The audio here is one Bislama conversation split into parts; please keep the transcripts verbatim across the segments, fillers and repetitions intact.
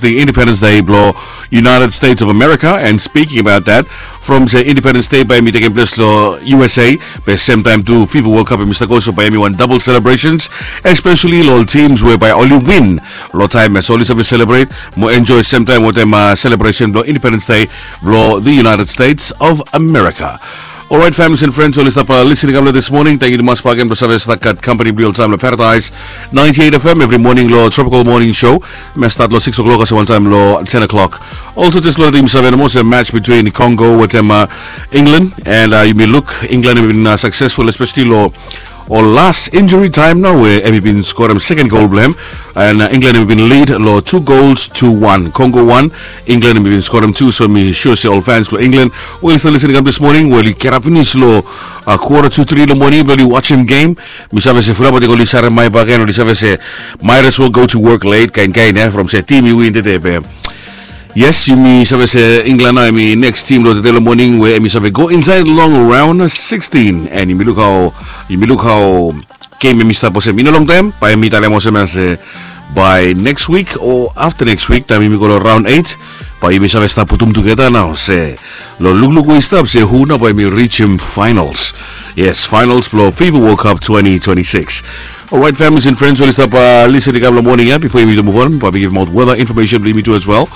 the Independence Day blo United States of America. And speaking about that, from se Independence Day bae hemi tekem ples lo U S A, be semtaem tu FIFA World Cup hemi stap go, so bae hemi wan double celebrations, especially lo ol teams we bae oli win lo taem ia, so oli save celebrate mo enjoy semtaem wetem uh, celebration blo Independence Day blo the United States of America. Alright, families and friends, oli stap uh, listening kam lo this morning. Tangkiu tumas bagen blo save stap gat company blo oltaem lo Paradise ninety-eight F M every morning lo Tropical Morning Show. Hemi stat lo six o'clock olsem wantaem lo ten o'clock. Also, jes lo letem yumi save nomo se match between Congo wetem uh, England, and uh, yumi luk England hemi bin uh, successful, especially lo ol las injury taem nao we hemi bin skorem second goal blo hem. And uh, England hemi bin lead lo two goals to one. Congo one, England hemi bin skorem two. So mi sure se ol fans blo England we oli stap listening kam this morning, we oli get up finis lo uh, quarter to three lo moning blo oli wajem game. Mi save se fulap ating oli sarem maet bagen, oli save se might as well go to work late, kaen kaen ia, from se tim i win tede be. Yes, yumi save se England nao hemi next team lo tede lo moning we hemi save go insaed long round sixteen. And yumi luk hao, yumi luk hao game hemi stap olsem i no longtaem, bae hemi talem olsem ia se bae next week o afta next week taem yumi go lo round eight, bae yumi save stap putum tugeta nao se lo lukluk we i stap se hu nao bae hemi rijem finals. Yes, finals blo FIFA World Cup twenty twenty-six. Alright, families and friends, oli stap uh, listening kam lo moning ia, bifo yumi tu move on, bae mi givim aot weather information blo yumi tu as well.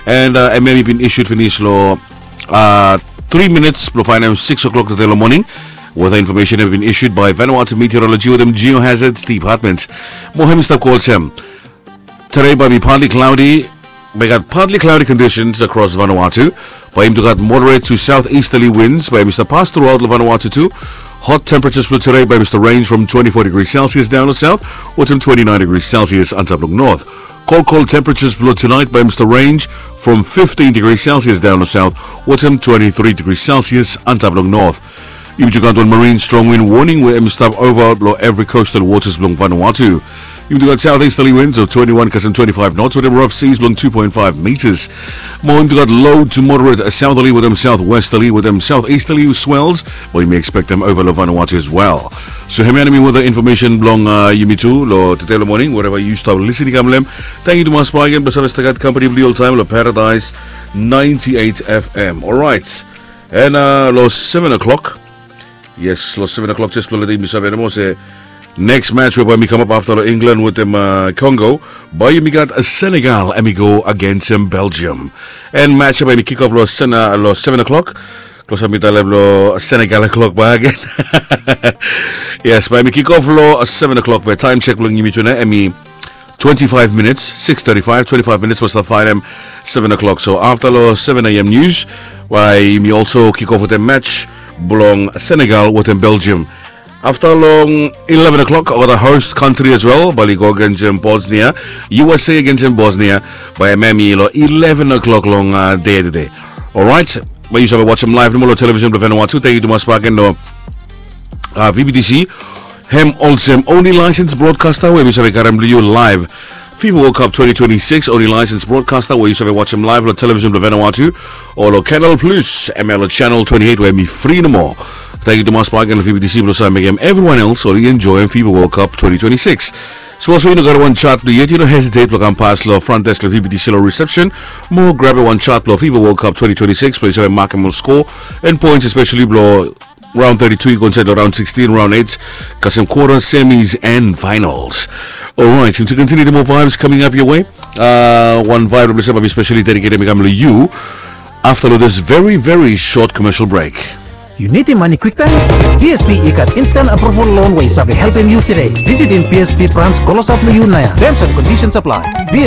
And uh, hemi bin issued finis lo uh, three minutes blo faenem six o'clock tede lo moning. Weather information hemi bin issued by Vanuatu Meteorology wetem Geohazards Department. Mo hemi stap go olsem: Today bae hemi partly cloudy. Bae gat partly cloudy conditions across Vanuatu. Bae hemi tu gat moderate to southeasterly winds bae hemi stap pas truaot lo Vanuatu tu. Hot temperatures blo today bae hemi stap range from twenty-four degrees Celsius daon lo south wetem twenty-nine degrees Celsius antap lo north. Cold, cold temperatures blo tonight bae hemi stap range from fifteen degrees Celsius daon lo south wetem twenty-three degrees Celsius antap lo north. Yumi tu gat wan marine strong wind warning we hemi stap ova lo evri coastal waters blo Vanuatu. Yumi tu gat southeasterly winds of twenty-one kasem twenty-five knots wetem rough seas blo two point five meters. Mo yumi tu gat low to moderate southerly wetem southwesterly wetem southeasterly swells, mo yumi expectem ova lo Vanuatu as well. So hemia hemi weather information blo uh, yumi tu lo tede lo moning, wherever yu stap listening kam lo hem. Tangkiu tumas bagen blo save stap gat company blo yu oltaem lo Paradise ninety-eight F M. Alright. And uh, lo seven o'clock. Yes, lo seven o'clock, jes blo letem yumi save nomo se next match we bae hemi kamap afta lo England wetem uh, Congo, bae yumi gat uh, Senegal hemi go agensem Belgium. And match ia bae hemi kick off lo, sen, uh, lo seven o'clock. Klosap mi talem lo Senegal o'clock bae agen. Yes, bae hemi kick off lo uh, seven o'clock, be taem check blo yumi tu nao hemi twenty-five minutes, six thirty-five, twenty-five minutes blo stap faenem seven o'clock. So afta lo seven A M news, bae yumi also kick off wetem match blo Senegal wetem Belgium. Afta long eleven o'clock, olgeta host country as well bae oli go agensem Bosnia, U S A agensem Bosnia, bae hemia hemi lo eleven o'clock long uh, dei tede. Alright, bae yu save wajem live nomo lo television blo Vanuatu. Tangkiu tumas bagen lo uh, V B T C. Hem olsem only licensed broadcaster we mi save karem lo yu live. FIFA World Cup twenty twenty-six, only licensed broadcaster we yu save wajem live lo television blo Vanuatu o lo Canal Plus, hemia lo channel twenty-eight we hemi fri nomo. Tangkiu tumas bagen lo V B T C blo save mekem everyone else oli enjoem FIFA World Cup twenty twenty-six. Sapos we yu no gat wan chart blo yu yet, yu no hesitate blo kam pas lo front desk blo V B T C lo reception mo grabem wan chart blo FIFA World Cup twenty twenty-six blo yu save makem ol score and points, especially blo round thirty-two i go insaed lo round sixteen, round eight, kasem quarter, semis and finals. Alright, yumi tu continue the more vibes coming up your way. Uh, wan vibe blo mi save bae mi specially dedicatem i kam lo yu afta lo this very, very short commercial break. Yu nidim mane kwiktaem? B S P i gat instant approval loan we i save helpem yu tede. Visitim B S P branch klosap lo yu naoia. Terms and conditions apply. B